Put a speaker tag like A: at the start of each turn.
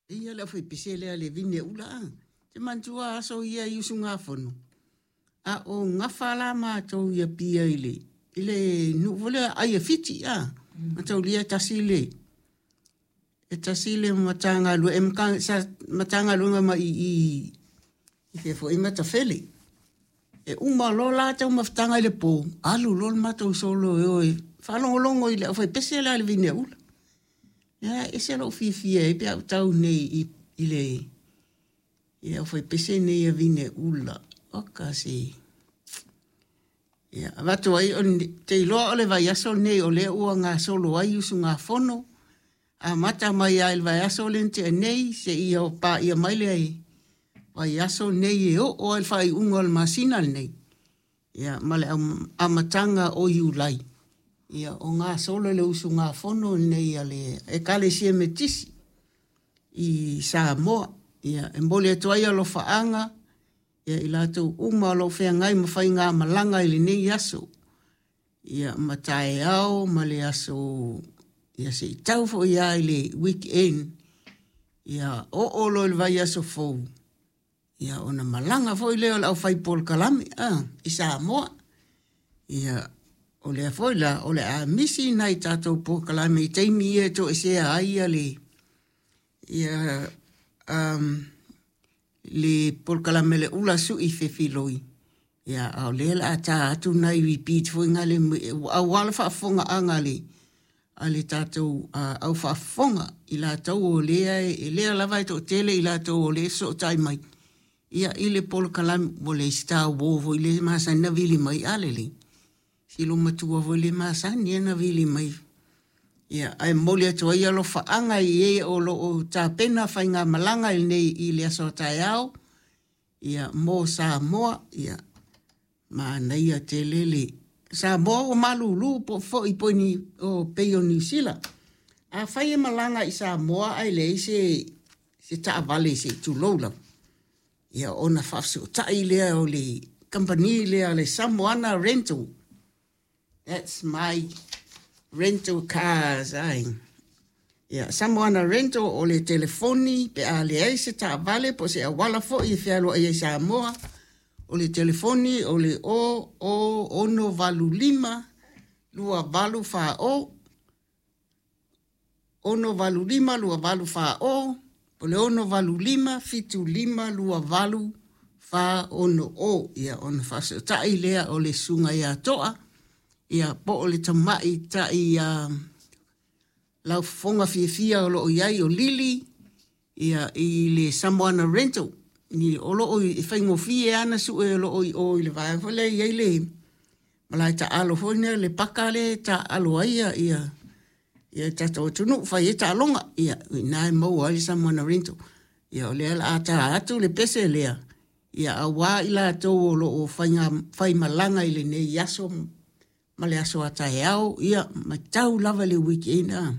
A: Ia le aufaipese lea le vine ula a. Te manatua aso ia i usugafono, a o gafa la matou i Apia i le i le nuu foi lea ai e Fiti a. Mataulia e tasi le e tasi le Matagaluega e sa Matagaluega mai i i fea foi Matafele. E uma loa la taumafataga i le po, alu loa le matou solo e o e faalogologo i le aufaipese lea a le vine ula. Ia, e ese lou fiafia ai pe a ou tau nei i, i le i le aufaipese nei a vine ula. Oka se. Ia, avatu ai, te iloa o le vaiaso lenei o lea ua gasolo ai usugafono, amata mai lava i le vaiaso lea na tea nei seia paia mai le vaiaso lenei e oo ai le faaiuga o le masina lenei, ia, ma le amataga o Iulai, ia, o gasolo le usugafono lenei a le Ekalesia Metisi i Samoa. Ia, e momoli atu ai alofaaga ia i latou uma o lo o feagai ma faigamalaga i lenei aso, ia, ma taeao ma le aso, ia se i tau foi lava i le weekend, ia oo loa i le vaiaso fou, ia ona malaga foi lea o le aufai polokalame i Samoa. Ia, o lea foi la, o le a misi nai tatou polokalame i taimi ia e toesea ai ia le ia le polokalame le ula sui fefiloi, ia, a o lea o le a ta atu nai repeat foi na le aua le faafofogaaga a le tatou au faafofoga i latou o lea e lea lava e toatele i latou o lea e fesootai mai ia i le polokalame ua leai se tauo foi le masani na vili mai a lelei si loomatua foi le masani na vili mai. Ia, ae momoli atu ai alofaaga i e o lo o tapena faigamalaga i lenei i le aso a taeao, ia, mo Samoa. Ia, manaia tele le Samoa ua malulu po foi po o pei o Niu Sila. Afai e malaga i Samoa ae leai se se taavale se i tulou lava, ia, ona faafesootai lea o le kamupani lea le Samoana Rental. That's my rental cars, ai. Ia, Samoana Rental o le telefoni pe a leai se taavale po o se auala foi e fealuai ai Samoa, o le telefoni o le 0 685 28 40, 685 28 40, o le 685 75 28 40 o. Ia, ona faafesootai lea o le susuga ia Toa, ia, po o le tamaitai laufofoga fiafia o lo o i ai o Lili, ia, i le Samoana Rental. Ni o lo o e faigofie ana sue o lo o i o i le vaega foi lea e i ai le malae taalo foi lea le paka lea e taalo ai ia ia ia tatou atunuu fai ai taaloga. Ia, i ina e maua ai le Samoana Rental. Ia, o lea o le a ta atu le pese lea, ia, aua i latou o lo o faiga faimalaga i lenei aso ma le aso a taeao, ia, ma tau lava le weekend a.